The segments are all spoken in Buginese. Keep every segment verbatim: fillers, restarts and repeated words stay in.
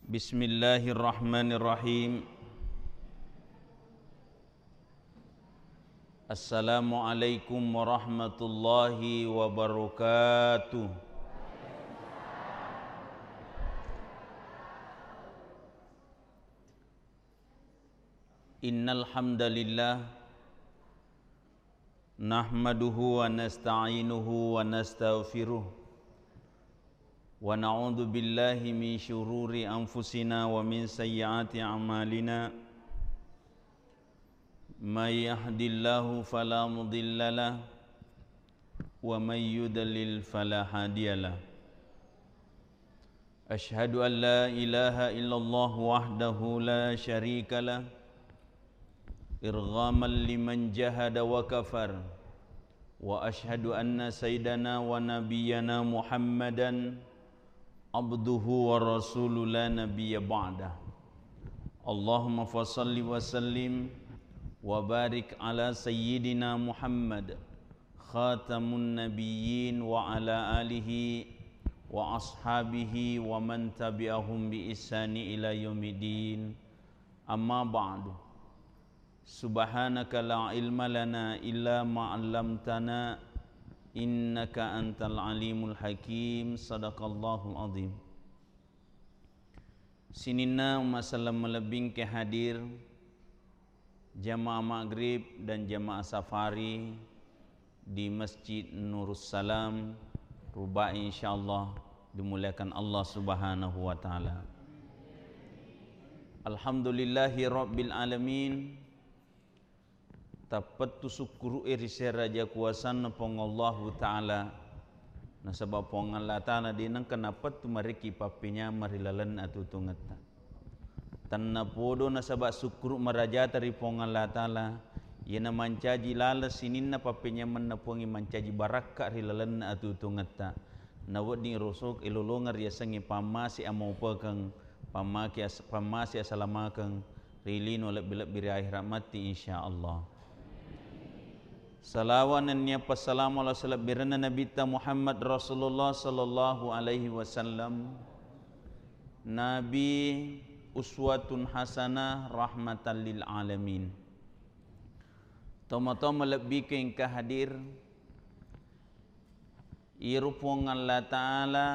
Bismillahirrahmanirrahim. Assalamualaikum warahmatullahi wabarakatuh. Innal hamdalillah, nahmaduhu wa nasta'inuhu wa nastaghfiruh, wa na'udzu billahi min syururi anfusina wa min sayyiati a'malina. May yahdillahu fala mudilla lah, wa may yudlil fala hadiya lah. Asyhadu an la ilaha illallah wahdahu la syarika lah, irghaman liman jahada wa kafar. Wa asyhadu anna sayyidana wa nabiyyana Muhammadan abduhu wa rasuluh la nabiyya ba'dah. Allahumma fasalli wa sallim wa barik ala sayyidina Muhammad khatamun nabiyyin wa ala alihi wa ashabihi wa man tabi'ahum bi ihsani ila yaumiddin. Amma ba'du. Subhanaka la ilma lana illa ma 'allamtana, innaka antal alimul hakim. Sadaqallahul azim. Sininna umma selleng malebbingke hadir, jamaah maghrib dan jamaah safari di Masjid Nurussalam, Ruba'i, insyaallah dimuliakan Allah Subhanahu wa Ta'ala. Alhamdulillahi Rabbil Alamin. Tappettu sukkuru'e ri Seraja kuasanna Puang Allahu Ta'ala, nasaba Puang Allah Ta'ala de nengka napettu marekki pappenyameng ri lalenna atuo-tuongetta. Tennapodo nasaba sukkuru marajata ri Puang Allah Ta'ala, iyana mancaji laleng sininna pappenyamenna Puangnge mancaji barakka ri lalenna atuo-tuongetta. Nawedding roso-, elolongeng riasengnge pammase amaupekeng, pammake as-, pammase asalamakeng ri lino lebbi-lebbi ri akhirat matti, insyaallah. Salawa nennia passalama ala salebbirenna Nabitta Muhammad Rasulullah sallallahu alaihi wasallam. Nabi uswatun hasanah rahmatan lil alamin. Tomatoa malebbike engka hadir, iyaro Puang Allah Ta'ala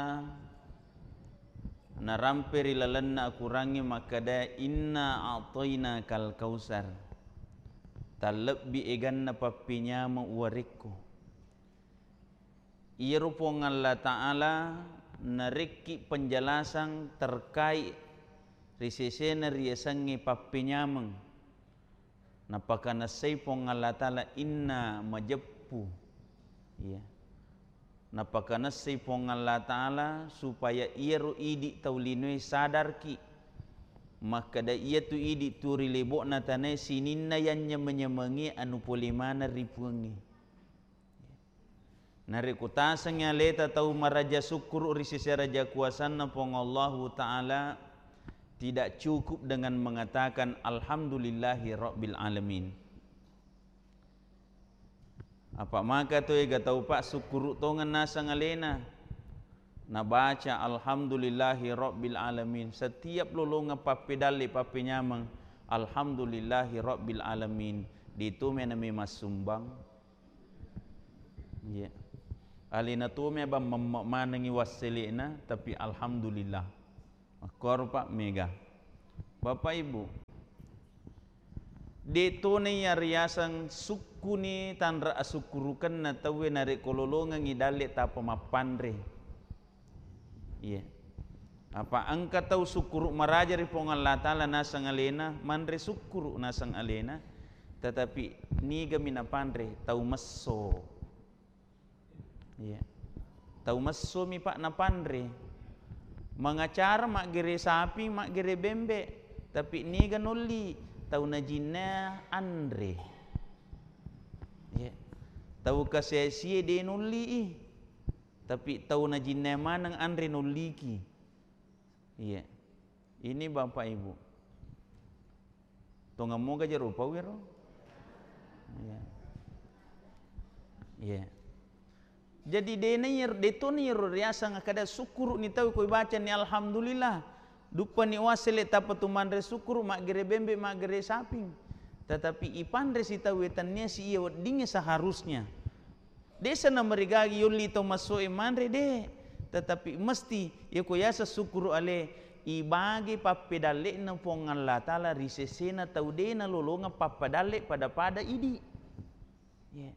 narampe ri lalenna Akorangnge makkeda, "Inna a'tainakal kautsar." Tallebbi eganna pappenyameng uwarekko. Iyaro Puang Allah Ta'ala narekki penjelasan terkait ri sesena riasengnge pappenyameng. Napakanessai Puang Allah Ta'ala inna majeppu. Iya. Napakanessai Puang Allah Ta'ala supaya iyaro idi tau linoe sadarki makkeda iyatu idi tuo ri lebo'na tanae sininna yannyameng-nyamengnge anu pole maneng ri Puangnge. Narekko tasengngi aleta tau maraja sukkuru ri sese raja kuasanna Puang Allahu Ta'ala, tidak cukup dengan mengatakan, "Alhamdulillahi Rabbil Alamin." Apa maka to ega tau, Pak, sukkuru tongeng naseng alena, nabaca, "Alhamdulillahi Rabbil Alamin." Setiap lolongeng pappedalle, pappenyameng, "Alhamdulillahi Rabbil Alamin." Ditome nami massumbang. Iya. Alena tome abang memme manengi wassele'na, tapi alhamdulillah. Makkoro, Pak, mega. Bapak Ibu, de tona iya riaseng sukkuni tanra asukkurukenna tauwe narekko lolongengngi dalle tappa mappanre. Iya. Apa engka tau sukkuru maraja ri Puang Allah Ta'ala naseng alena, manre sukkuru naseng alena, tetapi nigami napanre? Tau messo. Iya. Tau messomi, Pak, napanre. Mangacara maggere sapi, maggere bembe, tapi niga nolli? Tau najinna anre. Iya. Tau kasia-sia de nolli i. Tapi tau najinna maneng anre nolliki. Iya. Ini Bapak Ibu. Tongammoga jero upau ero? Iya. Iya. Jadi dena iyaro, de tona iyaro riaseng kada sukkuru ni tau ko ibacani alhamdulillah. Duppani uassele tappa tu manre sukkuru, maggere bembe, maggere saping. Tetapi ipanre sitauwe tannia si iya weddingnge seharusnya. Desa namarigagi yolli tau massoe manre, de. Tetapi mesti yako yaseng sukkuru ale, ibage pappedalle'na Puang Allah Ta'ala ri sesena tau de nalolongeng pappadalle pada-pada idi. Ye.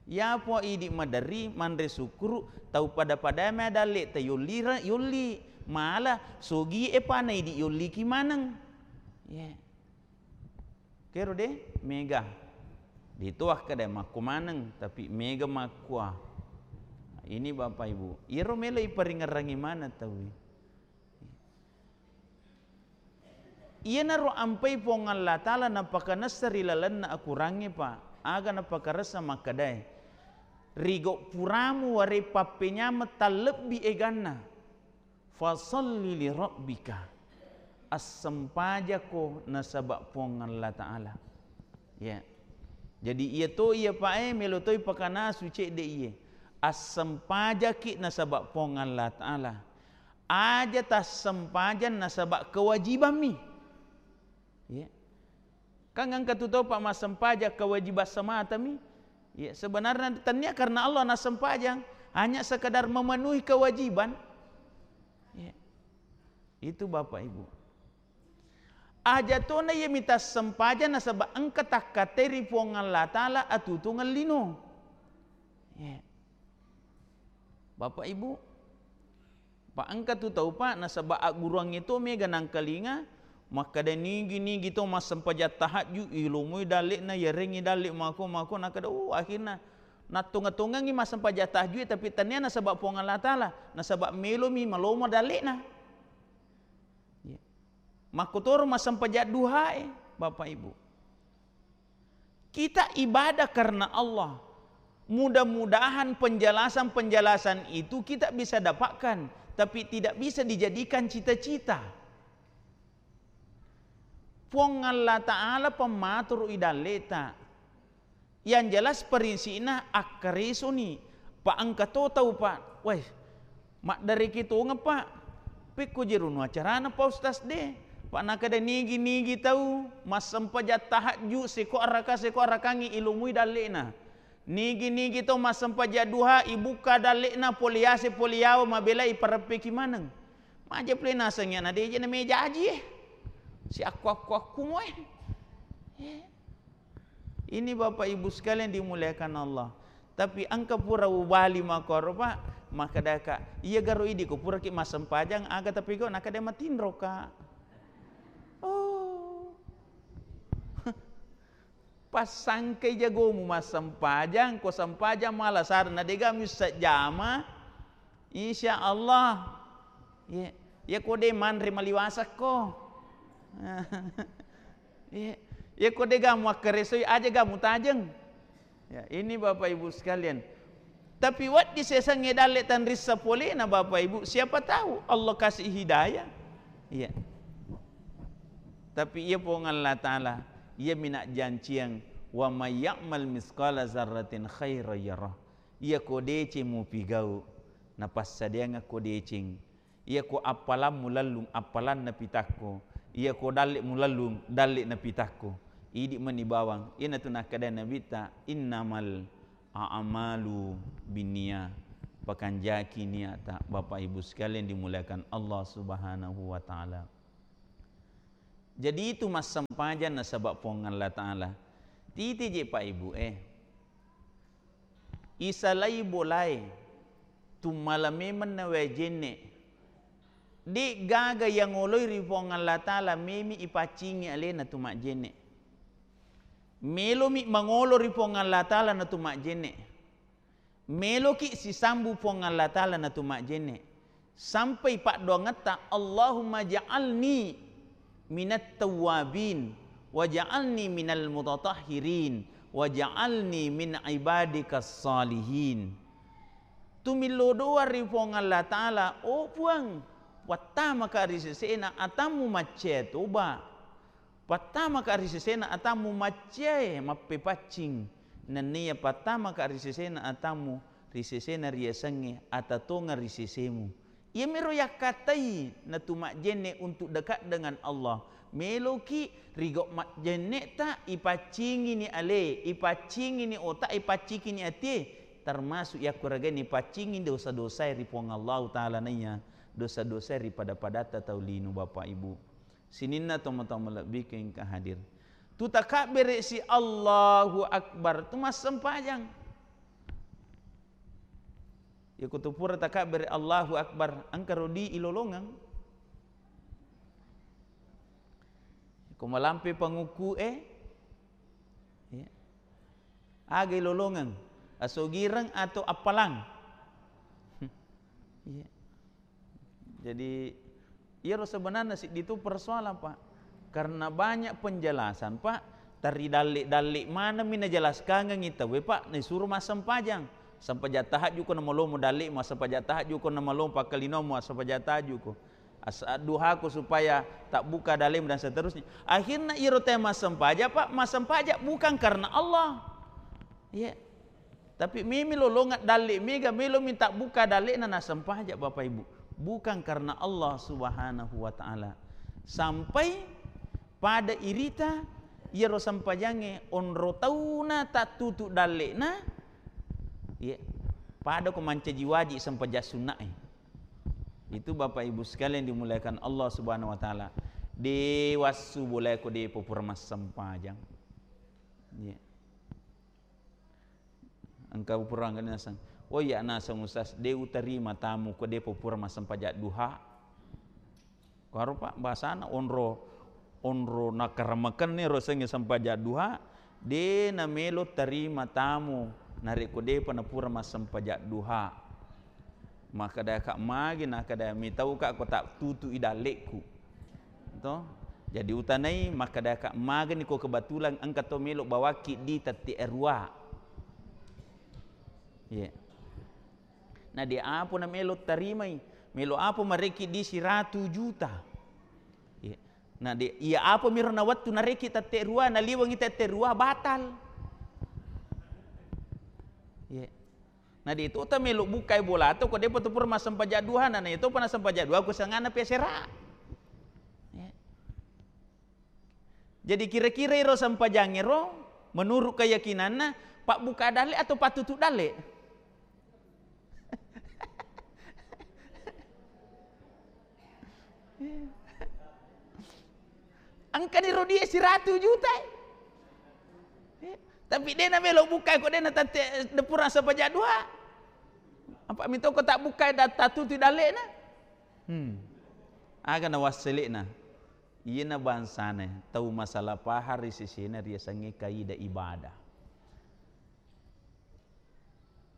Yapo idi maderri manre sukkuru, tau pada-pada me dalle ta yolli ra-, yolli. Mala sogi e pana idi yolliki maneng. Ye. Kero de mega. Ditoa kada makko maneng, tapi mega makkua. Ini Bapak Ibu, iyaro melo iparingerrangi maneng tauwe. Iyanaro ampai Puang Allah Ta'ala napakanessa ri lalenna akurangnge, Pak. Aga napakaressa makkedae, "Rigo puramu ware pappenyameng tallebbi eganna. Fasalli li rabbika." Assempajako nasaba Puang Allah Ta'ala. Ya. Jadi iya to iya, Pak, e, melo toi pakanasu cedde iye. Assempajaki nasaba Puang Allah Ta'ala. Aja tassempajang nasaba kewajibanmi. Ya. Kan engka tu tau, Pak, massempajang kewajiban sematami. Ya, sebenarnya tania karena Allah nassempajang, hanya sekedar memenuhi kewajiban. Ya. Itu Bapak Ibu. Aja tona iya mita sempajang nasaba engka takkatai ri Puang Allah Ta'ala atutungeng lino. Ya. Bapak Ibu, Pak, engka tu tau, Pak, nasaba agguruangnge to mega nangkalinga, makkeda nigi-nigi to massempajang tahajud, ilomoi dalle'na, yarengngi dalle mako-mako, nakkeda, "Oh, akhirna nattonga-tongangngi massempajang tahajud, tapi tania nasaba Puang Allah Ta'ala, nasaba melomi malomo dalle'na." Ya. Makkotoro massempajang duhae, Bapak Ibu. Kita ibadah karena Allah. Mudah-mudahan penjelasan-penjelasan itu kita bisa dapatkan, tapi tidak bisa dijadikan cita-cita. Puang Allah Ta'ala pemmaturu idalleta. Yang jelas, parinsina akkaresoni. Pa engka to tau, Pak. Weh, maddareki tongeng, Pak. Pekko jerunu acarana, Pak Ustaz, de. Pak, nakada nigi-nigi tau massempajang tahajud seko araka, seko arakangi ilumui dalle'na. Nigi-nigi tau massempajang duha, ibukka dalle'na, pole yase, pole yawa, mabelai ipareppeki maneng. Maja pole naseng ya, na deje na meja aji, eh. Si akku-akku-akku mo, eh. Eh. Ini Bapak Ibu sekalian dimuliakan Allah. Tapi engka pura ubali makkoro, Pak, makkadaka, iya garo idi ko puraki massempajang, aga tapi ko nakada matinro ka. Oh. Passangkai jagomu massempajang, ko sempajang mala sarna dega missejjama. Insya Allah. Ye, ye ko de manre maliwasakko. Ye, ye ko de gamu akkaresoi aja gamu tajeng. Ya, ini Bapak Ibu sekalian. Tapi wedding sesengnge dalle tanrissa polena Bapak Ibu, siapa tahu Allah kasih hidayah. Iya. Tapi iya Puang Allah Ta'ala, iya mina janciang, "Wa may ya'mal misqala zarratin khairan yarah." Iya ko deceng mupigau, napassadiangakko deceng. Iya ko appalammu lallung, appalanna pitakko. Iya ko dalle'mu lallung, dalle'na pitakko. Idi mani bawang. Iyanatu nakkeda Nabitta, "Innamal a'malu binniyah." Pakanjaki niata, Bapak Ibu sekalian dimuliakan Allah Subhanahu wa Ta'ala. Jadi itu massempajang nasaba Puang Allah Ta'ala. Titi je, Pak Ibu, eh. Isalai bolae, tummala memeng na wae jenne. De gaga yang oloi ri Puang Allah Ta'ala, memi ipaccingi alena tu majjenne. Melomi mangolo ri Puang Allah Ta'ala na tu majjenne. Meloki sisambu Puang Allah Ta'ala na tu majjenne. Sampai paddoangetta, "Allahumma ja'alni minat tawwabin, wa ja'alni minal mutatahhirin, wa ja'alni min ibadikas salihin." Tumillo doa ri Puang Allah Ta'ala, "Oh Puang, wattamaka ri sesena atammu maccae toba." Pattamaka ri sesena atammu maccae mappepaccing, nenniya pattamaka ri sesena atammu ri sesena riasengnge ata tongeng ri sesemu. Iyamiro yakkatai natu majjenne untuk dekat dengan Allah. Meloki rigau majjenneta ipaccingini ale, ipaccingini otak, ipaccingini atie, termasuk yakkuragaini paccingi dosa-dosae ri Puang Allahu Ta'ala naiya dosa-dosae ri pada-padatta tau lino, Bapak Ibu. Sininna tomatoa malebbiku engka hadir. Tu takabbere si Allahu Akbar, tu massempajang. Iyako tu pura takabbere Allahu Akbar, engka ro di ilolongeng. Ko malampe pangukku e, iya. Aga ilolongeng, asogireng atau appalang? Iya. Jadi, iyaro sebenarnya siddi tu persoalan, Pak. Karena banyak penjelasan, Pak. Tari dalle-dalle maneng mi najelaskangengi tauwe, Pak, naisuro massempajang. Sempajang tahajud ko namalomo dalle, massempajang tahajud ko namalomo pakkalinomu, massempajang tahajud ko. As-, duhako supaya tabbuka dalemu dan seterusnya. Akhirnya iyaro te massempajang, Pak, massempajang bukan karena Allah. Iya. Tapi memi lolongeng dalle mega, melo mi tabbuka dallena nassempajang, Bapak Ibu. Bukan karena Allah Subhanahu wa Ta'ala. Sampai pada irita iyaro sempajangnge onro tauna tattutu dallena, iya, pada ko mancaji wajib sempajang sunnae. Itu Bapak Ibu sekalian dimuliakan Allah Subhanahu wa Ta'ala. De wassu bolae ko de popura massempajang. Iya. Engka purangga naseng. Oh iya, naseng Ustaz, de utarima tamu ko de popura massempajang duha. Karo, Pak, bahasana onro, onro nakaramekenni ro sengnge sempajang duha, de namelo tarima tamu narekko depa napura massempajang duha. Makkedaka magi, nakkeda mitauka ko tattutui dallekku. To? Jadi utanai, makkedaka magani ko kebetulan engka to melo bawakki di tette arua. Iya. Na de apa na melo tarimai? Melo apa marekki di siratu juta? Iya. Na de, iya apa miro na wettu narekki tette rua, naliwengi tette rua, batal. Iya. Na de to ta melo bukkai bola to, ko depa to pura massempajang duha, na, na iyatopa nassempajang duha, ko sangana pesera. Iya. Jadi kira-kira iro sempajangnge ro, menurut keyakinanna, pabbuka dalle atau pattutu dalle? Engkani ro die siratu juta, eh. Tapi de namelo bukkai ko de na tette, de pura sempajang duha. Apa mitoko tabbukkai da-, tattutu dallena? Hmm. Aga na wasselena? Iyena bangsana tau masalah pahang ri sesena riasengnge kaidah ibadah.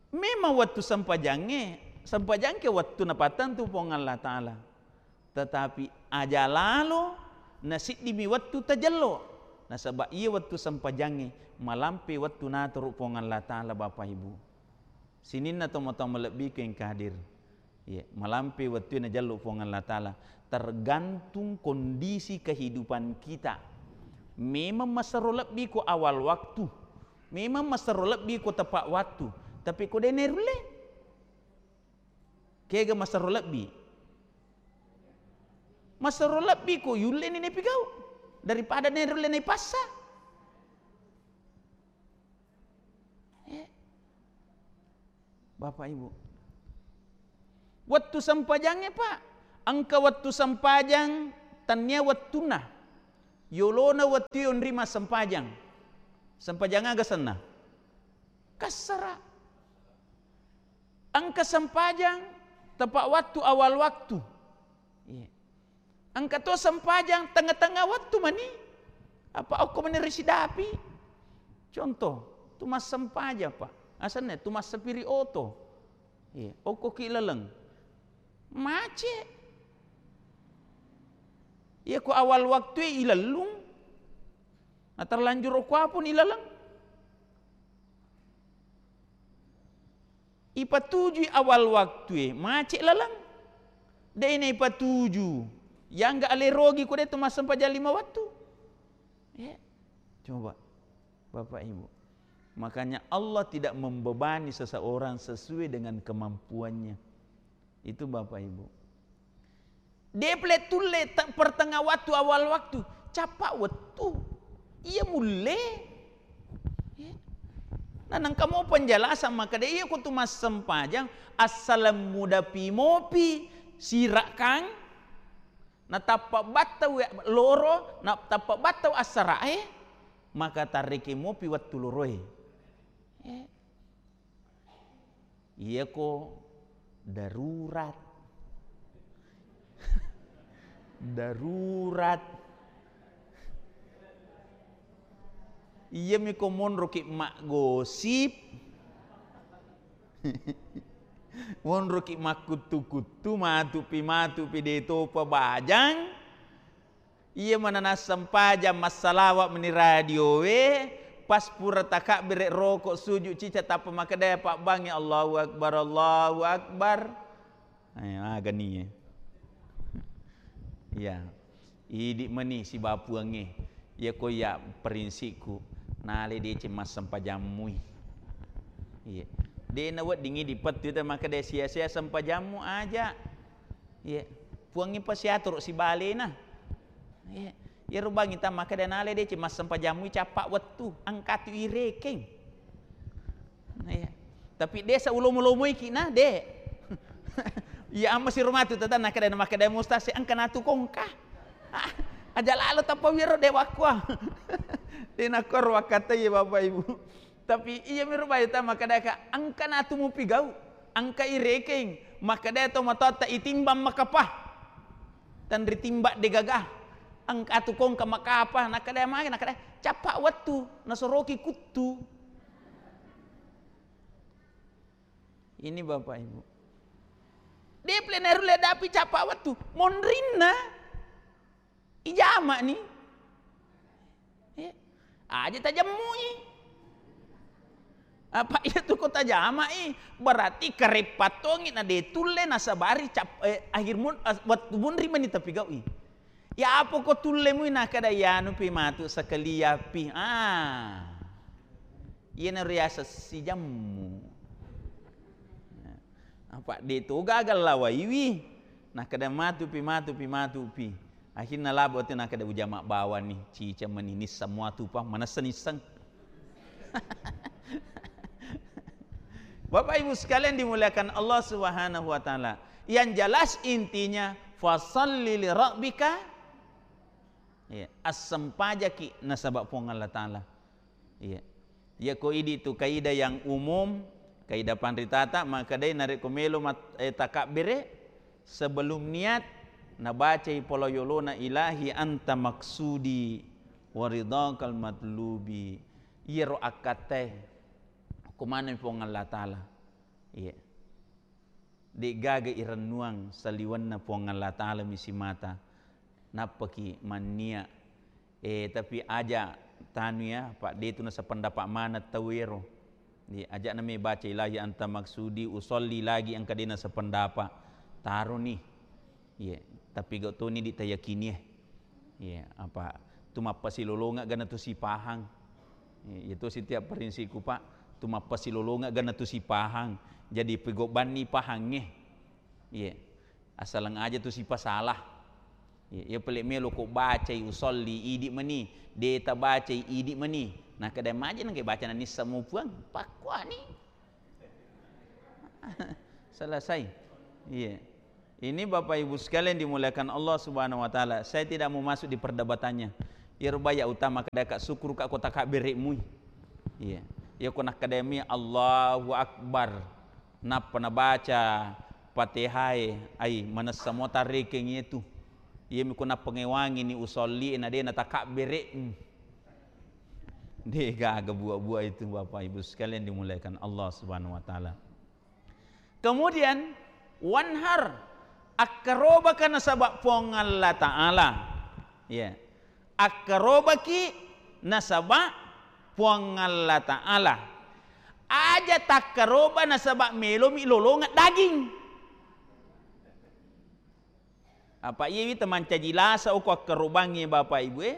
Memang wettu sempajangnge, sempajangke wettu napattentu Puang Allah Ta'ala. Tetapi aja lalo, na siddimi wettu tajello. Nasaba iya wettu sempajangnge, malampe wettu naturu Puang Allah Ta'ala, Bapak Ibu. Sininna tomatoa malebbiku engka hadir. Iya, malampe wettue najallu Puang Allah Ta'ala. Tergantung kondisi kehidupan kita. Memang masero lebbi ko awal waktu. Memang masero lebbi ko tepat waktu. Tapi ko de nerulle? Kega masero lebbi? Masero lebbi ko yulleni naipigau daripada nerulle naipassa. Eh. Bapak Ibu. Wettu sempajangnge, Pak. Engka wettu sempajang tannia wettunna. Yolona wettu yonri massempajang. Sempajang aga senna? Kassara. Engka sempajang tepat waktu, awal waktu. Iya. Engka to sempajang tengnga-tengnga wettu mani. Apa okko mani risidapi. Contoh, tu massempajang, Pak. Asenna tu massapiri oto. Iya, okkoki laleng. Macet. Iya, ko awal waktu ilellung. Nah, terlanjur okko apun ilaleng. Ipatujui awal waktue, macet laleng. De'na ipatuju. Yangga ale rogi ko de tu massempajang lima wettu. Ya. Coba, Bapak Ibu. Makanya Allah tidak membebani seseorang sesuai dengan kemampuannya. Itu Bapak Ibu. De' pale tulle te-, pertengah waktu, awal waktu. Cappa wettu. Iya mulle. Iya. Nah, nengka mo penjelasan makkeda, iya ko tu massempajang, assaleng mudapi mopi, sirakang, na tappa battau loro, na tappa battau assarae, maka tarreke mopi wettu loroe. Iya. Iyako darurat. Darurat. Iyami ko monroki maggosip. Monroki makkuttu-kuttu, matupi-matupi de' topa bajang. Iya mana nassempajang, massalawa meni radioe, pas pura takabbere roko sujud cica tappa makkeda pabbangi, "Allahu Akbar, Allahu Akbar." Eh, agani, eh. Iya. Idi meni sibawa Puangnge. Iya ko iya prinsipku, nale deceng massempajammui. Iya. De' naweddingi dipettu ta makkeda sia-sia sempajammu aja. Iya. Puangnge pasiatoro sibalena. Iya. Iyaro bangngi ta makkeda nale deceng massempajammui cappa wettu, engkatu irekeng. Iya. Tapi de' sa ulomo-lomoiki na, de'. Iya amma siro matu tata nakkeda, makkeda mustase engka natu kongka. Ah, aja lalo tappa wiro de' wakkua. De' nakkoro wakkatai Bapak Ibu. Tapi iya miro bayu ta makkeda ka engka natu mupigau, engka irekeng, makkeda to matoatta itimbang makapa. Tenri timbang de' gaga. Engka tu kongka makapa, nakkeda magi, nakkeda cappa wettu, nasoroki kuttu. Ini Bapak Ibu. De' pale narulle dapi cappa wettu, monrinna. Ijamani. Eh, aja tajammui. Apa iya tu ko tajamai, berarti kareppa tongi na de' tulle nasabari cap-, eh, akhir mun-, as-, wettu munri meni tapigaui. Ya apa ko tulle mui nakkeda iyanupi matu sekaliapi. Ah. Iyanaro riaseng sijammu. Apa de' to gaga lawaiwi. Nakkeda matupi, matupi, matupi. Akhirna labo tu nakkeda ujama bawani, cica meni nisseng muatu pa, manessa nisseng. Bapak Ibu sekalian dimuliakan Allah Subhanahu wa Ta'ala. Yang jelas intinya, "Fasalli li rabbika." Iya, assempajaki nasaba Puang Allah Ta'ala. Iya. Iya ko idi tu kaidah yang umum, kaidah panritata, makkedai narekko melo mat-, eh, takabbere, sebelum niat, nabacai polo yolona, "Ilahi anta maksudi wa ridhakal matlubi." Iyaro akkattae, ko maneng Puang Allah Ta'ala. Iya. De'gaga irennuang saliwenna Puang Allah Ta'ala mi simata. Nappaki mannia. Eh, tapi aja tanu ya, Pak, de' tu nasapendapa maneng tau ero. Di, aja nami baca ilahi anta maksudi, usolli lagi engka de' nasapendapa. Taroni. Iya, tapi gau toni di tayakini, eh. Iya, apa, tu mappasilolongeng gana tu sipahang. Iya, itu setiap prinsipku, Pak, tu mappasilolongeng gana tu sipahang. Jadi pegobbanni pahangnge. Iya. Asaleng aja tu sipasalah. Iya, iya pale melo ko bacai usolli idi meni, de' tabacai idi meni. Nakkeda maja nengke baca nanissa mupuang, pakkuani. Selesai. Iya. Ini Bapak Ibu sekalian dimuliakan Allah Subhanahu wa Ta'ala. Saya tidak mau masuk di perdebatannya. Iyaro baya utama kedaka syukur ka kota kaberekmu. Iya. Iya ko nakkedami Allahu Akbar. Nappa nabaca Fatihah e, ai manessa mo tarrekeng itu. Iya mi ko nappengewangi ni usolli na de' na takabbere. De' gaga buah-buah itu Bapak Ibu sekalian dimuliakan Allah Subhanahu wa Ta'ala. Kemudian, wanhar, akkarobaka nasaba Puang Allah Ta'ala. Ya. Akkarobaki nasaba Puang Allah Ta'ala. Aja takkaroba nasaba melomi lolongeng daging. Apa iyawi temancaji lasa uko akkarobangnge Bapak Ibu e.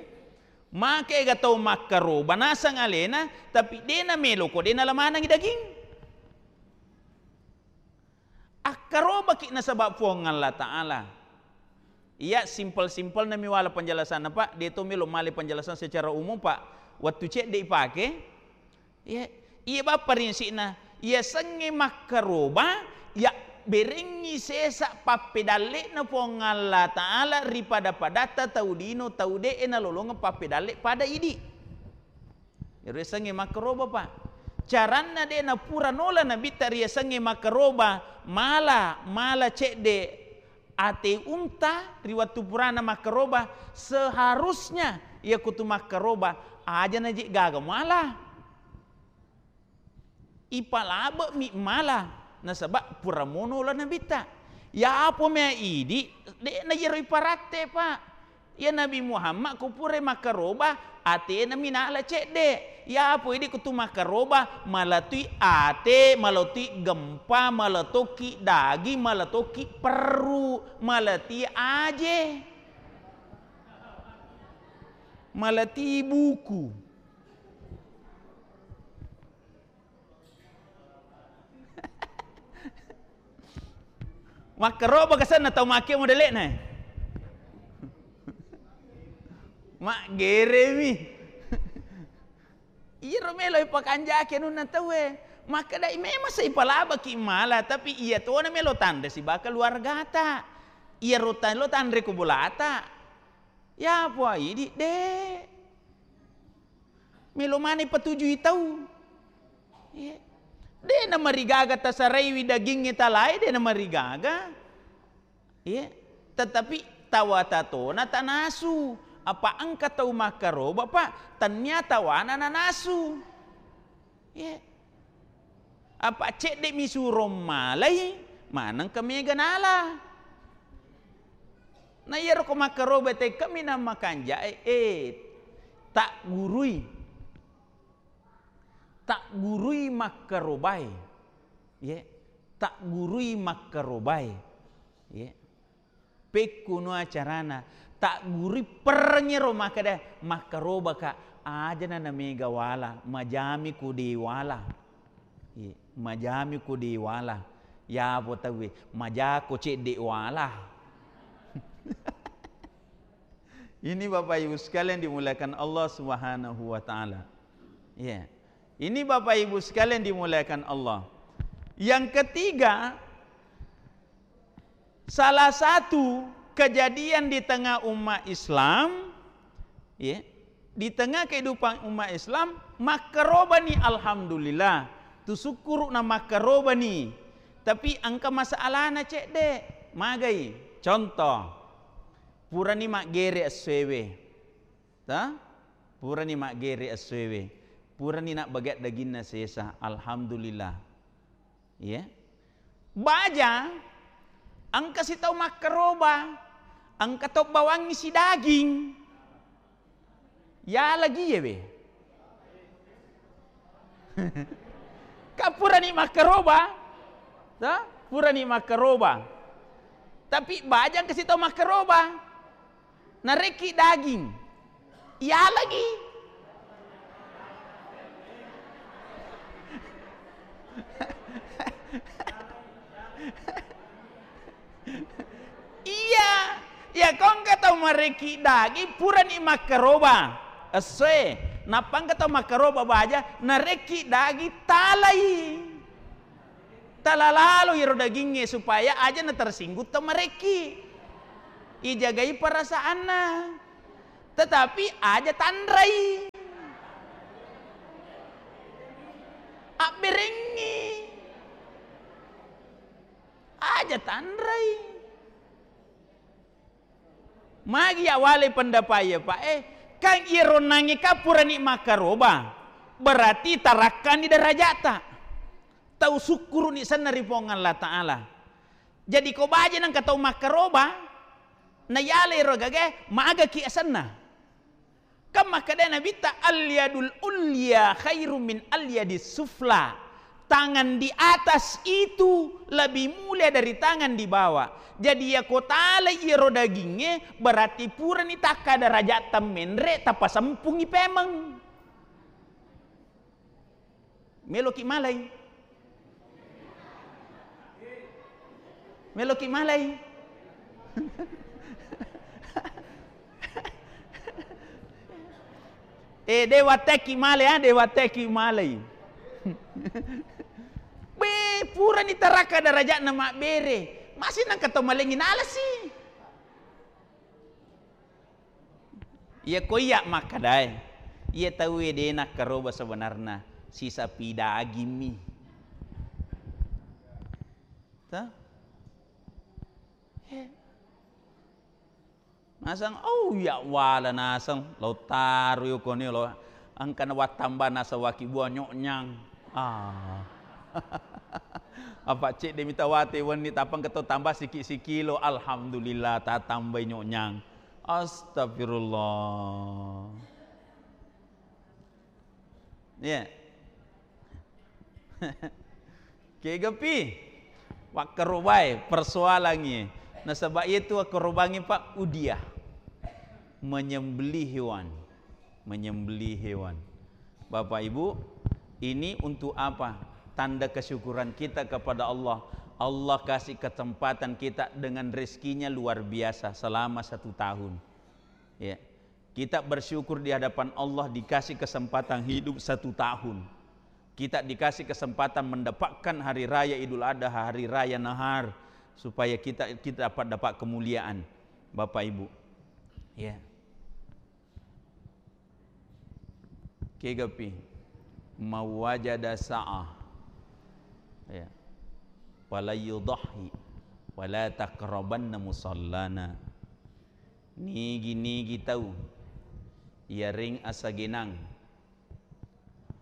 Make ga tau makkaroba naseng alena, tapi de' namelo ko de' nalamanengi daging. Akkarobaki nasaba Puang Allah Ta'ala. Iya, simpel-simpel nami wala penjelasanna, Pak. De to melo male penjelasan secara umum, Pak. Wettu cedde ipake, iya, iya, Pak, parinsikna. Iyasengnge makkaroba, ya berengngi sesa pappedallekna Puang Allah Ta'ala ri pada-padatta tau lino, tau de'e nalolongeng pappedalle pada idi. Iyaro yasengnge makkaroba, Pak. Caranna de napura nola Nabitta riyasengnge makkaroba, mala, mala cedde ate unta ri wettu purana makkaroba, seharusnya iyakutu makkaroba aja naje gaga mala. Ipalabe'mi mala, nasaba pura mono la Nabitta. Yapo mea idi, de'na iyaro iparatte, Pak. Iya Nabi Muhammad ko purai makkaroba, atena minala cedde. Yapo idi kutu makkaroba, malatui ate, malatui gempa, malatoki daging, malatoki perru, malati aje, malati buku. Makkaroba kasenna tau makke modele'na. Maggeremi. Iyaro melo ipakanjaki anunna tauwe. Makkedai memang sa ipalabaki mala, tapi iya tona melo tanre sibawa keluargata. Iyaro ta-, lo tanre ko bolata. Yapo idi, de. Melo maneng patujui tau. Iya. De namarigaga tasaraiwi dagingnge talae, de namarigaga. Iya. Tetapi tawata tona tanasu. Apa engka tau makkaroba, Pak, tennia tawana nanasu. Iya. Apa cedde mi suro malai, manengka mega nala. Na iyaro ko makkaroba tekka minang makanjae, eh, taggurui. Taggurui makkarobae. Ye, taggurui makkarobae. Ye. Pekkuno acarana, taggurui perrengngero makkeda, makkarobaka, ajana namega wala, majami ko de wala. Ye, majami ko de wala. Yapo tauwe, majako cedde wala. Ini Bapak Ibu sekalian dimuliakan Allah Subhanahu wa Ta'ala. Ya. Ini Bapak Ibu sekalian dimuliakan Allah. Yang ketiga, salah satu kejadian di tengah umat Islam, ya, di tengah kehidupan umat Islam, makkarobani, alhamdulillah. Tu sukkuru'na makkarobani. Tapi engka masalahna cedde. Magai? Contoh, purani maggere essoewe. Ta? Purani maggere essoewe. Purani nabbage daginna sesa. Alhamdulillah. Iya. Baja, engka sitau makkaroba, engka to bawangngi sidaging. Ya lagi ya we. Ka purani makkaroba. Ta? Purani makkaroba. Tapi baja engka sitau makkaroba. Narekki daging, iya lagi. Iya, iya, ko engka tau marekki daging, purani makkaroba essoe, nappa engka tau makkaroba baja, narekki daging, talai. Tala lalo iyaro dagingnge supaya aja na tersinggung tau marekki. Ijagai perasaanna. Tetapi aja tanrai. Abberengngi. Aja tanrai. Magi ya wale pendapat ya, Pak, eh? Kan iyaro nangnge ka purani makkaroba, berarti tarakkani derajata. Tau sukkuru'ni senna ri Puang Allah Ta'ala. Jadi ko baja nengka tau makkaroba, na yale ro gagae, magaki asenna. Kan makkeda Nabitta, "Al-yadul ulya khairum min al-yadis sufla." Tangan di atas itu lebih mulia dari tangan di bawah. Jadi, iya ko talai iyaro dagingnge, berarti purani takka derajat temmenre, tapasempungi pemeng. Meloki malai. Meloki malai. Eh, de wattekki male, ah, de wattekki malei. Be, purani taraka darajatna mabbere. Masih nangka to malengi nalesi. Iya ko iya makkadae, iya tauwe de nakkaroba sebenarna, sisapi dagimmi. Toh? Eh. Naseng, oh, iya wala naseng, lo taro yo koni lo, engkana wattamba naseng waki bua nyoknyang. Ah. Apa cedde mi tawate wenni, tappa engka to tambah siki-sikilo, alhamdulillah, tatambai nyoknyang. Astagfirullah. Iya. Kegapi wakkarobae persoalangngi. Nasaba iyatu wakkarobangngi, Pak, udiah. Menyembelih hewan. Menyembelih hewan. Bapak Ibu, ini untuk apa? Tanda kesyukuran kita kepada Allah. Allah kasih kesempatan kita dengan rezekinya luar biasa selama satu tahun. Ya. Kita bersyukur di hadapan Allah dikasih kesempatan hidup satu tahun. Kita dikasih kesempatan mendapatkan hari raya Idul Adha, hari raya Nahar, supaya kita, kita dapat, dapat kemuliaan, Bapak Ibu. Ya. Kegapi, mawajada sa'ah. Ya. Fala yudhhi, wala taqrabanna musallana. Nigi-nigi tau iyareng asagenang,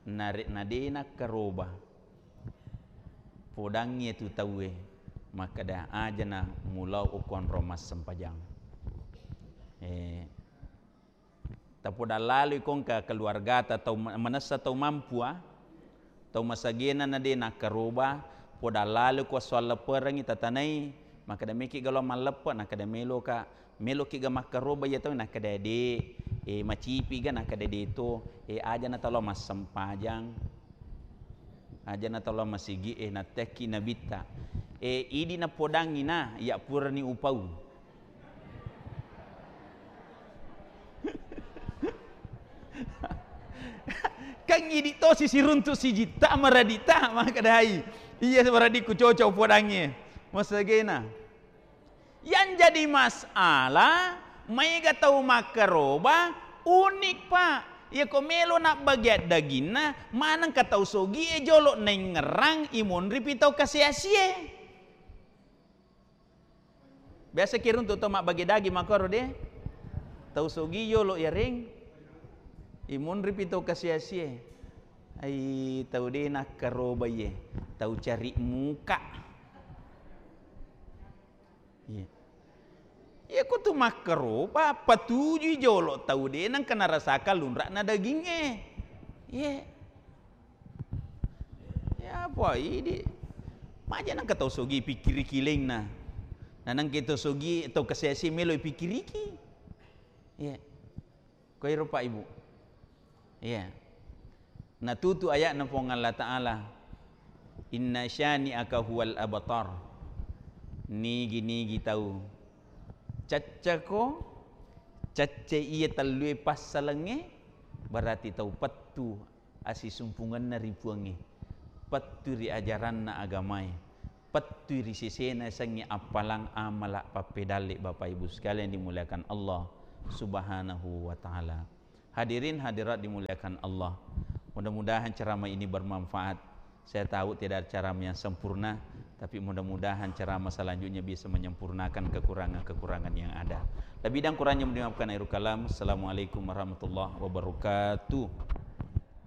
narekna de nakkaroba, podangngi tu tauwe makkeda, ajana mulao okko onrong massempajang. Eh, tapodang laloi kongka keluargata tau ma-, manessa tau mampua, Tau masagena na de nakkaroba, podang laloko esso allepperengngi tatanai, makkeda, "Meki galo malleppe?" Nakkeda, "Meloka." "Meloki ga makkaroba iya tau?" Nakkeda, "De, eh, macipi ga?" Nakkeda, "De to." "Eh, aja na talo massempajang, aja na talo masigi, eh, nattekki nabitta." Eh, idi napodangngi na, iya purani upau. Kan idi tosi siruntu sijitta maradita, makkedai, "Iya, maradikku cocok podangnge." Masagena. Yang jadi masalah, maega tau makkaroba, unik, Pak. Iya ko melo nabbagia daginna, manengka tau sogie jolo naingngerang imonripi tau kasiasie. Biasa kiruntu tau mabbage daging makkoro de. Tau sogi yolo yareng. Imunripi tau kasiasie. Ai tau de nakkaroba iye. Tau cari muka. Iya. Iya ko tu makkaroba, patujui jolo tau de nengka narasakang lunra'na dagingnge. Iya. Ya apa idi? Maja nengka tau sogi pikkiriki lainna. Na nengka tau sogi, tau kasiasi melo pikkiriki. Iya. Koiro Pak Ibu. Iya. Natutu ayatna Puang Allah Ta'ala, "Inna syani'aka huwal abtar." Nigi-nigi tau caccako, cacce iya tellue passalengnge, berarti tau pettu asisumpungenna ri Puangnge, pettu ri ajaranna agamae, pettui ri sesena yasengnge appalang amala pappedalle. Bapak Ibu sekalian dimuliakan Allah Subhanahu wa Ta'ala. Hadirin hadirat dimuliakan Allah, mudah-mudahan ceramah ini bermanfaat. Saya tahu tidak ada ceramah yang sempurna, tapi mudah-mudahan ceramah selanjutnya bisa menyempurnakan kekurangan-kekurangan yang ada. Lebih dan kurangnya dimaafkan akhirul kalam. Assalamualaikum warahmatullahi wabarakatuh.